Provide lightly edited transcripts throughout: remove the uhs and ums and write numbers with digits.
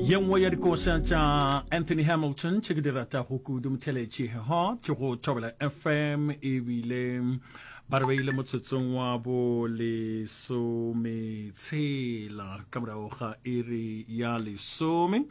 Ye nngwe ya dikoša tša Anthony Hamilton tše ke di ratago kudu motheletši hot go Thobela FM ebile ba re beile motsotsong wa bo lesometshela ka morago ga iri ya lesome.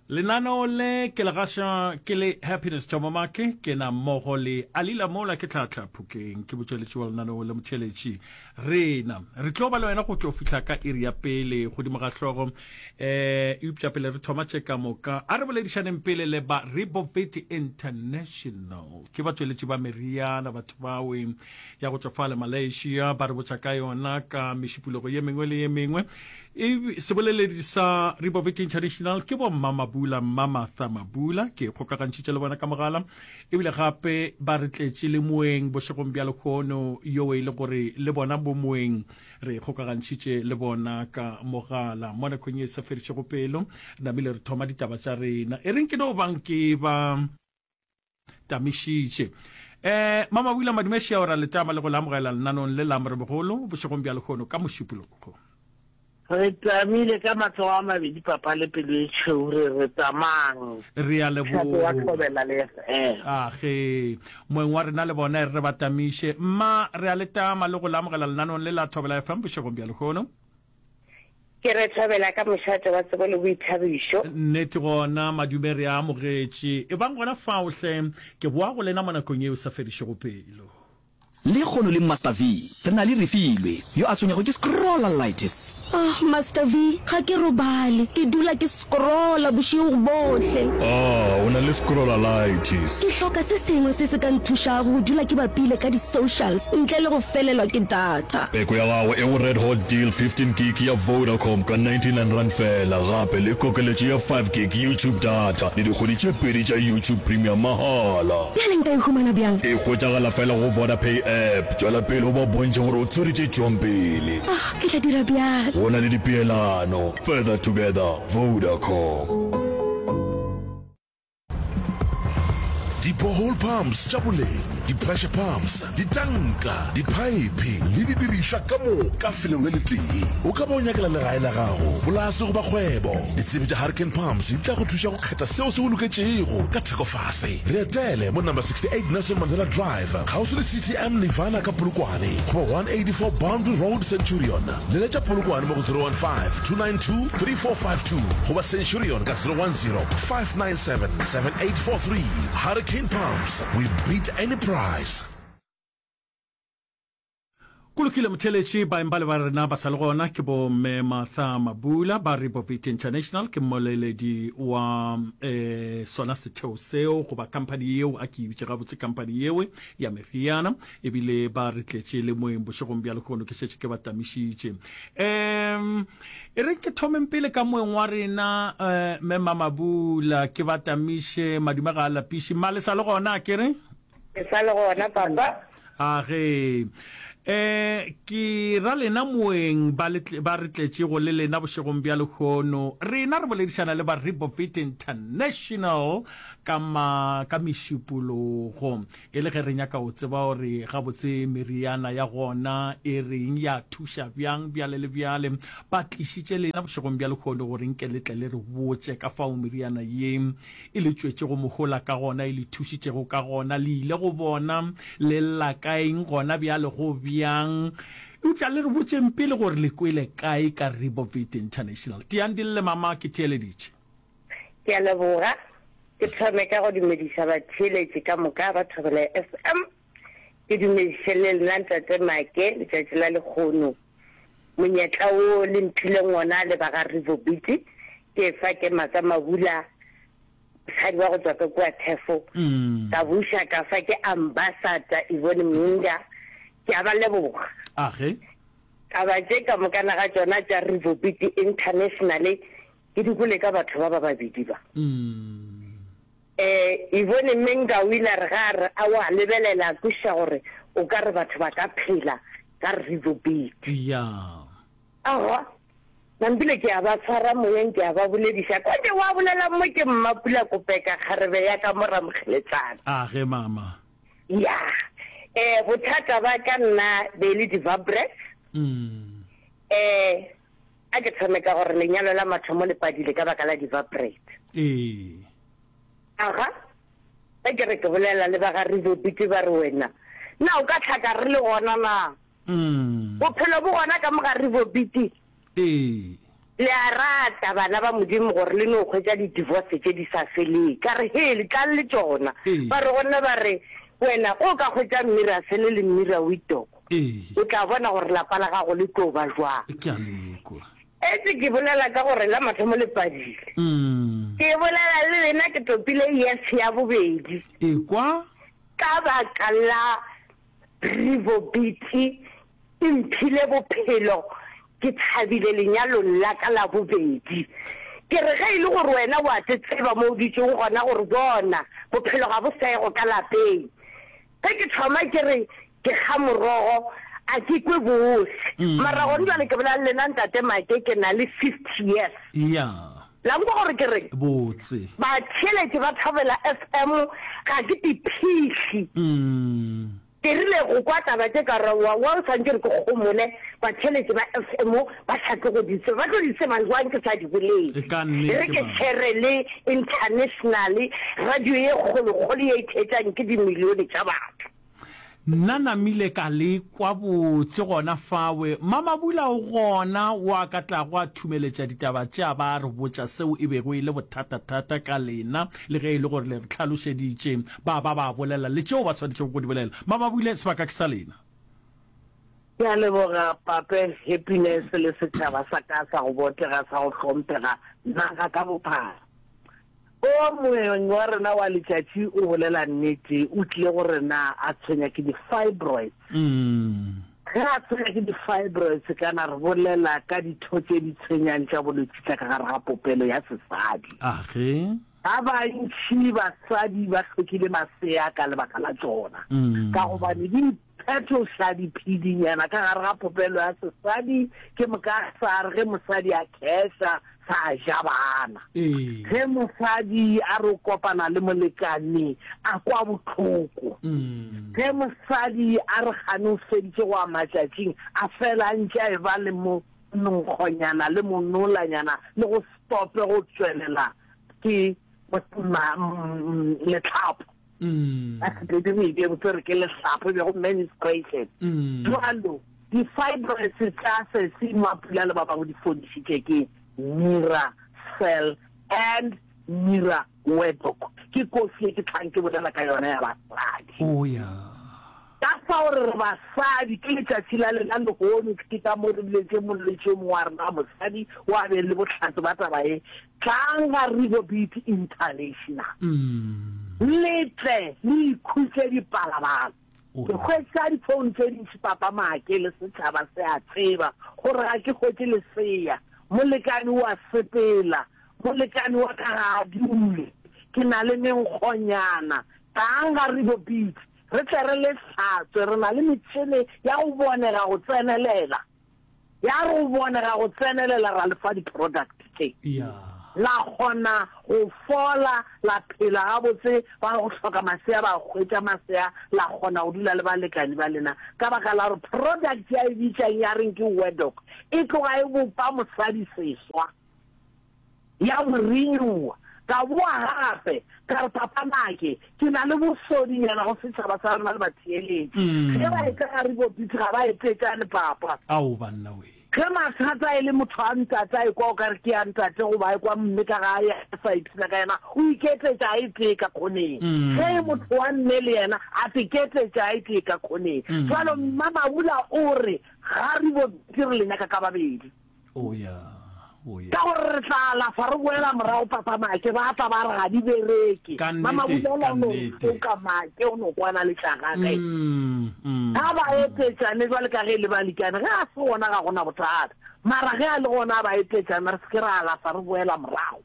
Lenaneo le ke le gaša ke le Happiness Thomamake ke na mmogo le Alila Mola ke tlhatlha Phokeng ke botšweletši wa lenaneo le motheletši Rena re tlo ba le wena go tlo fihla ka iri ya pele godimo ga hlogo. Um eupša pele re thoma tše ka moka, a re boledišaneng pele le ba Rebovit International. Ke batšweletši ba meriana, batho bawe ya go tšwa fale Malaysia, ba re botša ka yona ka mešupologo ye mengwe le ye mengwe. E, seboleledi sa Rebovit International ke bo Mma Mabula, Mma Martha Mabula, ke kgokagantšhitše le bona ka mogala. Ebile gape ba re tletše le moeng bošegong bja lehono, yoo e le gore le bona bo moeng re kgokagantšhitše le bona ka mogala. Mo nakong ye e sa fedišego pelo, re namile re thoma ditaba tša rena. E reng ke no bang ke ba tamišitše. Eh, Mamabula Madumešia o ra le tama le go le amogela lenanong le la Moremogolo bošegong bja lehono ka Mošupologo. Re tamile ka matsogo a mabedi papa le pelo e tšhweu re re tamang. Re a Mošate wa leboga. Thobela le FM. A ge moeng wa rena le bona e re re ba tamiše. Mma, re a le tama le go le amogela lenanong le la Thobela FM bošegong bja lehono. Ke re Thobela ka mošate wa tsebo le boithabišo. Nnete gona, madume re a amogetše. Ebang gona fao hle, ke boa go lena mo nakong yeo e sa fedišego pelo. Lekgono le Master V, re na le Refilwe, yo a tshwenyago ke scrollalitis. Ah, Master V, ga ke robale. Ke dula ke scrolla bošego bohle. Ah, o na le scrollalitis. Ke hloka se sengwe se se ka nthušago go dula ke bapile ka di-socials ntle le go felelwa ke data. Peko ya gago e go Red Hot Deal 15 gig ya Vodacom ka R99 feela, gape le kokeletšo ya 5 gig YouTube data le dikgwedi tše pedi tša YouTube Premium mahala. Bjale nka e humana bjang? E hwetšagala fela go Vodapay app. Tšwela pele o ba bontšhe gore o tshwere tše tšwang pele. Ah, ke tla dira bjalo. Go na le dipeelano. Further together, Vodacom. Di-borehole pumps tša boleng, di-pressure pumps, ditanka, diphaephe le didirišwa ka moka felong le letee. O ka ba o nyakela legae la gago, polase goba kgwebo. Ditsebi tša Hurricane Pumps di tla go thuša go kgetha seo se go loketšego ka theko fase. Re etele mo number 68 Nelson Mandela Drive, kgauswi le CTM Nirvana ka Polokwane, goba 184 Boundary Road, Centurion. Leletša Polokwane mo go 015-292-3452 goba Centurion ka 010-597-7843. Hurricane Pumps, we beat any price. Go lokile motheeletši, baeng bale ba rena ba sa le gona ke bo Mme Martha Mabula ba Rebovit International, ke mmoleledi wa eh, sona setheo seo goba company yeo, a ke e bitše gabotse company yewe ya meriana, ebile ba re tletše le moeng bošegong bja lehono, ke šetše ke ba tamišitše. Um e reng ke thomeng pele ka moeng wa rena eh, Mme Mamabula, ke ba tamiše, madume ga a lapiše. Mma le sa le gona a ke re? Ke sa le gona, Papa. A ge. E, ke ra lena moeng ba le, ba re tletšego le lena bošegong bja lehono. Rena re boledišana le ba Rebovit International ka ma, ka mešupologo. E le ge re nyaka go tseba gore gabotse meriana ya gona e reng, ya thuša bjang, bjale le bjale. Ba tlišitše lena bošegong bja lehono gore nke le tle le re botše ka fao meriana ye e le tšwetšego mohola ka gona, e le thušitšego ka gona, le ile go bona, le lla ka eng gona bjale, go bjang. Eupša le re botšeng pele gore le kwele kae ka Rebovit International. Tiang di lle, mama, ke theeleditše. Ke a leboga. Ke thome ka go dumediša batheeletši ka moka ba Thobela FM. Ke dumediše le lena Ntate Make letšatši la lekgono. Monyetla wo le mphileng wona le ba ga Rivobiti, ke efa ke Matsa Mabula, mosadi wa go tšwa ka kua Thefo, ka buša ka fa ke Ambassador Yvonne Mnga, ke a ba leboga. Age. Taba tše ka mokana ga tšona tša Rivobiti International ke di kwele ka batho ba ba babedi ba. Ee, Yvonne Menga o ile a re ge a re a wa lebelela a kwešiša gore o ka re batho ba ka phela ka Rivo Beat. Ya. Aowa, nampile ke a ba tshwara moyeng ke a ba bolediša. Konje wa bolelang mo ke Mmapula Kopeka kgarebe ya ka mo Ramokgeletsana. A ge mama. Ya. Eh, bothata ba ka nna be e le di-vabres. Eh. A ke thome ka gore lenyalo la mathomo le padile ka baka la di-vibrate. Ee. Aga, ge ke re ke bolela le ba ga Rizobiti ba re wena, na o ka hlaka re le gona na? Bophelo bo gona ka mo ga Rizobiti? Ee. Le a rata bana ba Modimo gore le no hwetša di-divorce tše di sa feleng. Ka re, Hee, le tlang le tšona. Ee. Ba re go nna ba re, Wena o ka hwetša Mmirasele le Mmirawitoko. Ee. O tla bona gore lapa la gago le tlo ba jwang. Ke a le kwa. Etse ke bolela ka gore la mathomo le padile. Ke bolela le lena ke topile yes ya bobedi. Ekwa. Ka baka la Rivobiti e mphile bophelo, ke thabile lenyalong la ka la bobedi. Ke re ge e le gore wena o a te tseba mo o dutšego gona gore bona bophelo ga bo sego ka lapeng. Ge ke thoma ke re ke kga morogo a ke kwe bose. Mara gone jwale ke bolela le lena Ntate Make ke na le 50 years. Ya. La nkwa gore ke reng? Botse. Batheeletši ba Thobela FM ga ke diphihli. Ke rile go kwa taba tše ka re wa wa o swantše re ke gomole batheeletši ba FM ba sa tlo go di tseba. Ba tlo di tseba jwang ke sa di bolele? E ka nnete, Re ke mama. shere le international radio ye kgolokgolo ye e theetšang ke dimilione tša batho. Nna namile ka le kwa botse gona fawe. Mamabula o gona wo a ka tlago a thumeletša ditaba tše a ba a re botša seo e bego e le bothatathata ka lena le ge e le gore le re hlalošeditše ba ba ba bolela le tšeo ba swanetšego go di bolela. Mamabule, sebaka ke sa lena. Ke a leboga Pape Happiness le setšhaba sa ka sa go botega sa go hlomphega naga ka bophara. O moeng wa rena wa letšatši o bolela nnete, o tlile go rena a tshwenya ke di-fibroids. Ge a tshwenya ke di-fibroids kana re bolela ka ditho tše di tshwenyang tša bolwetši tša ka gare ga popelo ya sesadi. Age. Ba bantši basadi ba hlokile masea ka lebaka la tšona, ka gobane di phetoša diphedinyana ka gare ga popelo ya sesadi, ke moka sa re ge mosadi a kheša sa ja bana. Ge mosadi a re o kopana le molekane a kwa bohloko. Ge mosadi a re kgane o feditše go ya matšatšing a fela a ntše a eba le monkgonyana le monolanyana le go stope go tšwelela ke letlhapo. Ka Sepedi re e botse re ke lehlapho e bego menstruation. Jwalo di-fibroids tša Sesi Mapula le ba bangwe di fodišitše ke Mira Cell and Mira Wedok. Ke kofi e ke tlhang ke bolela ka yona ya basadi. Oh yeah. Ka fao re re basadi, ke letšatši la lena lehono, ke ka mo re biletše molwetši yo mongwe wa rena wa mosadi o a beng le bohlatse ba taba ye, Tlang ga Rehoboth International, le tle le ikhutše dipalabala. Ke hwetša difounu tše dintši, Papa Make le setšhaba se a tseba gore ga ke hwetše lesea. Molekane o a sepela, molekane wa ka ga a dule, ke na le menkgonyana. Tlang ga Rehoboth, Re tle re le hlatswe, re na le metšhene ya go bonega go tsenelela. Ya re go bonega go tsenelela ra le fa di-product tše. La kgona go fola, la phela gabotse, ba go hloka masea ba hwetša masea, la kgona go dula le balekani ba lena. Ka baka la gore product ya e bitšang ya reng ke Wedok e tloga e bopa mosadi seswa. Ya mo renewa. Ka boa gape, ka re, Papa Make, ke na le bosodinyana go setšhaba sa rena le batheeletši. Ge ba etla ga Ribo Beach, ga ba etetšane, Papa. Ao, banna we. Ge mathata e le motho a ntate a ekwa o ka re ke ya ntate goba a ekwa mme ka gae a sa ipshina ka yena, o iketetša a e tee ka khoneng. Ge e motho wa mme le yena a teketetša a e tee ka khoneng. Jwalo Mma Mabula o re, Ga Ribo Beach re le nyaka ka babedi. Oh ya, oh ya. Ka gore re tla alafa re boela morago papa Make ba tla ba re ga di bereke. Ka Mama nnete, Bulela ka o no re nnete. foka Make o no kwana le tša gage. Mm, mm. Ga ba etetšane jwale ka ge e le balikane ge a se gona ga gona bothata. Mara ge a le gona a ba etetšana re se ke ra alafa re boela morago.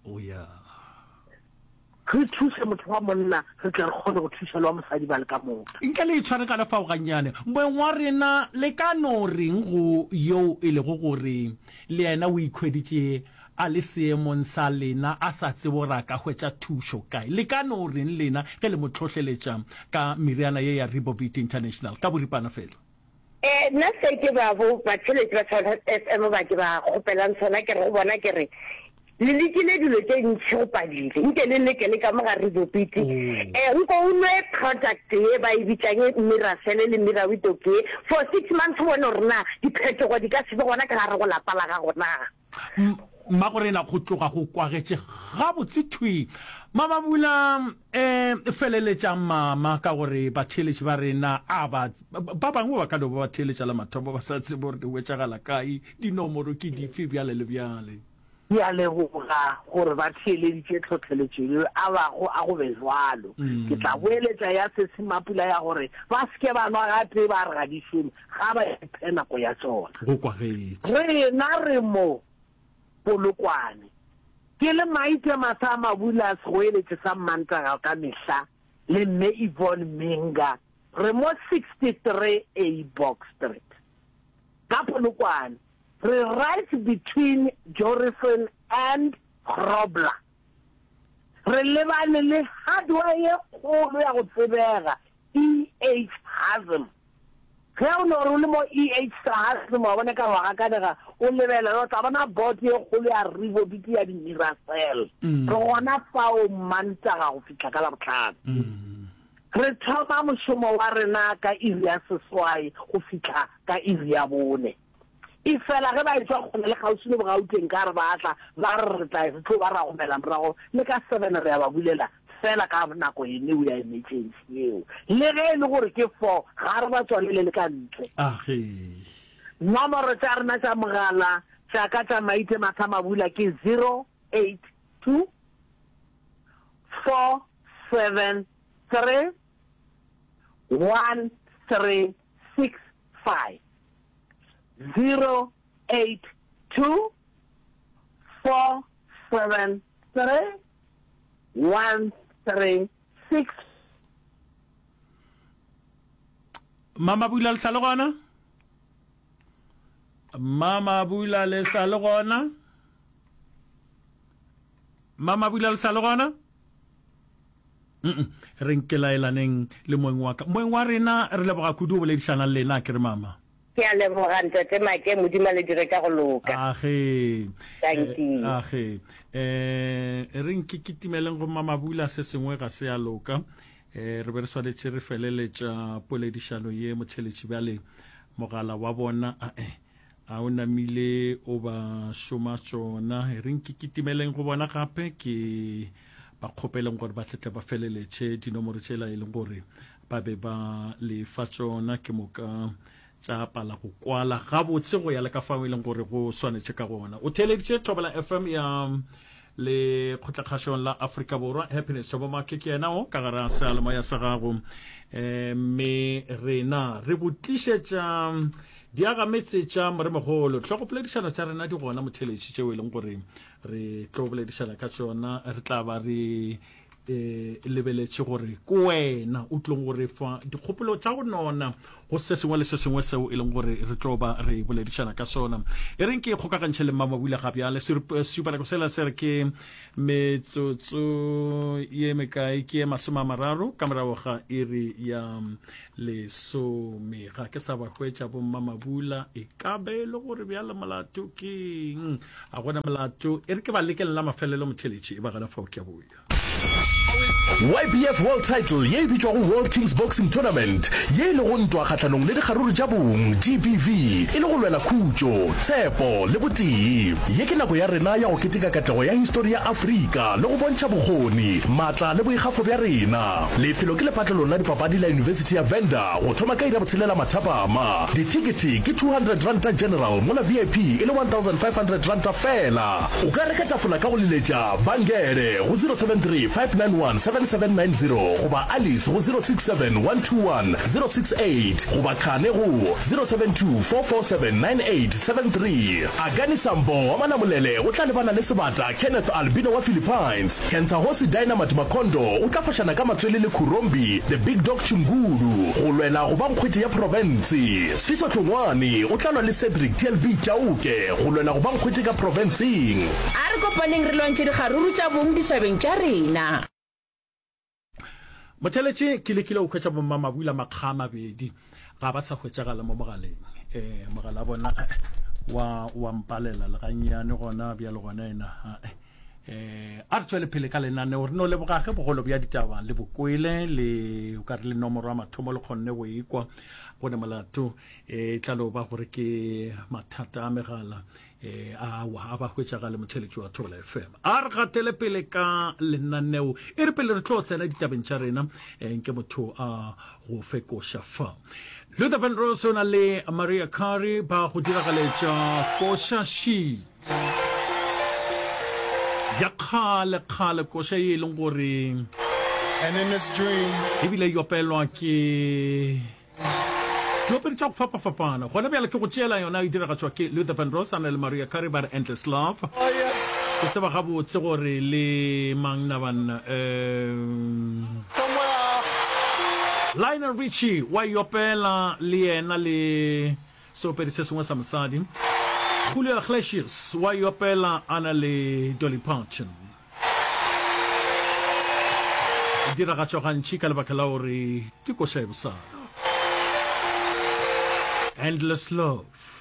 Oh ya. Re thuše motho wa monna, re tle re kgone go thuša le wa mosadi ba le ka moka. Nke le itshware ka lefao gannyane. Moeng wa rena, le ka no reng go yoo e lego gore le yena o ikhweditše a le seemong sa lena, a sa tsebe gore a ka hwetša thušo kae? Le ka no reng lena ge le mo hlohleletša ka meriana ye ya Ribovit International? Ka boripana feela. Eh, nna se ke ba bo batheeletši ba Thobela FM ba ke ba kgopelang sona ke re go bona ke re le lekile dilo tše ntši go padile nke le leke le ka mo ga Ribopiti eh nko o nwe product ye ba e bitšang Miracell le Mirawitoke ye for six months o bone gore na diphetogo di ka se be gona ka gare go lapa la gago na. Mmagorena go tloga go kwagetše gabotse thwi. Mamabula, E feleletšang mama ka gore batheeletši ba rena a ba ba bangwe ba ka no ba ba theeletša la mathomo ba sa tsebe gore di hwetšagala kae, dinomoro ke dife bjale le bjale. Ke a leboga gore ba theeleditše tlhohleletšo yeo a bago a go be bjalo. Ke tla boeletša ya Sesi Mapula ya gore ba se ke ba nwa gatee ba re ga di šome, ga ba iphe nako ya tšona. Go kwagetše. Rena re mo Polokwane. Ke le Maite Masa Mabula segoeletši sa Mmantaga ka mehla le Mme Yvonne Minga re mo 63 A Box Street ka Polokwane. Re right between Jorissen and Grobler. Re lebane le hardware ye kgolo ya go tsebega EH Hazm. Ge o no re o le mo EH Hazm wa bona ka wa gakanega o lebelela o tla bona board ye kgolo ya Rivobiti ya di-Miracell. Re gona fao Mantaga go fihla ka Labohlano. Re thoma mošomo wa rena ka iri ya seswai go fihla ka iri ya bone. Efela ge ba etšwa kgole le kgauswi le Bogauteng ka re ba tla, ba re re tla re tlo ba ra gomela morago le ka seven re a ba bulela fela ka nako eneo ya emergency yeo. Le ge e le gore ke four ga re ba tswalele le ka ntle. Age. Nomoro tša rena tša mogala tša ka tša Maite Matha-Mabula ke 082 473 1365. 0 8 2 4 7 3 1 3 6. Mama Bula le sa le gona? Mama Bula le sa le gona? Mama Bula le sa le gona? Re nkelaelaneng le moeng wa ka. Moeng wa rena, re leboga kudu go boledišana le lena, ke re mama. Ke a leboga Ntate Make, Modimo a le dire ka go loka. Age. Dankie. Age. Eh, re nke kitimeleng go Mamabula, se sengwe ga se a loka. Eh, re be re swanetše re feleletša poledišano ye motheletši bjale mogala wa bona ae. A o namile o ba šoma tšona? E reng ke kitimeleng go bona gape ke ba kgopeleng gore ba tletle ba feleletše dinomoro tšela e leng gore ba be ba le fa tšona, ke moka tša pala go kwala gabotse go ya le ka fao e leng gore go swanetše ka gona. O theeleditše Thobela FM ya le kgotlakgašong la Afrika Borwa. Happiness Thobomake ke yena o ka gare a seyalemoya sa gago, mme rena re go tlišetša Diagametse tša Moremogolo. Hlogopoledišano tša rena di gona motheletši tšeo e leng gore re tlo boledišana ka tšona. Re tla ba re e lebeletše gore ke wena o tlong go re fa dikgopolo tša go nona go se sengwe le se sengwe seo e leng gore re tlo ba re boledišana ka sona. E reng ke kgokagantšhe le Mmamabula ga bjale. Sesupanako sela se re ke metsotso ye mekae? Ke ye 30 ka morago ga iri ya Lesome. Ga ke sa ba hwetša bommamabula, e ka be e le gore bjale molato keng? A gona molato. E re ke ba lekele la mafelelo motheletši, e ba gona fao ke a boya. YBF World Title ye e bitšwago World Kings Boxing Tournament, ye e lego ntwa kgahlanong le dikgaruru tša bong, GBV, e le go lwela khutšo, tshepo le botee. Ye ke nako ya rena ya go keteka katlego ya histori ya Afrika le go bontšha bokgoni, maatla le boikgafo bja rena. Lefelo ke lepatlelong la dipapadi la Yunibesithi ya Venda go thoma ka iri ya botshelela mathapama. Dithekethe ke R200 general mola VIP e le R1500 feela. O ka reka tafola ka go leletša Vangele go 073 591 7790 goba Alice go 067 121 068 goba Khane go 072 447 9873. Akani Sambo wa Malamulele o tla lebana le Sebata Kenneth Albino wa Philippines. Kentsahosi Dynamite Makondo o tla fošana ka matswele le Khurombi The Big Dog Chingulu go lwela go ba nkgwete ya profense. Sfiso Hlongwane o tla lwa le Cedric TLB Chauke go lwela go ba nkgwete ka profenseng. A re kopaneng re lwantšhe dikgaruru tša bong ditšhabeng tša rena. Motheletše, ke lekile go hwetša bommamabula makga a mabedi. Ga ba sa hwetšagala mo mogaleng. Eh, mogala bona wa wa mpalela le gannyane gona bjale gona ena. Eh, a re tšwele pele ka lenaneo re no leboga ge bogolo bja ditaba le bokwele le o ka re le nomoro ya mathomo le kgonne go ekwa go ne molato e tla no ba gore ke mathata a megala e awa a ba hwetšagale motheletši wa Thobela FM. A re gatele pele ka lenaneo e re pele re tlo tsena ditabeng tša rena eh, nke motho a go fe koša fa. Luther Vandross o na le Maria Carey ba go diragaletša koša she ya kgale kgale koša ye e leng gore And in this dream, ebile e opelwa ke Diopedi tša go fapafapana. Gona bjale ke go tšeela yona e diragatšwa ke Luther Vandross a na le Mariah Carey ba re Endless Love. oh yes, Ke tseba gabotse gore le mang na banna um somewhere Lionel Richie wa e opela le yena le seopedi se sengwe sa mosadi. Julio Iglesias wa e opela a na le Dolly Parton. E diragatšwa gantši ka lebaka la gore ke koša e bosana. Endless Love.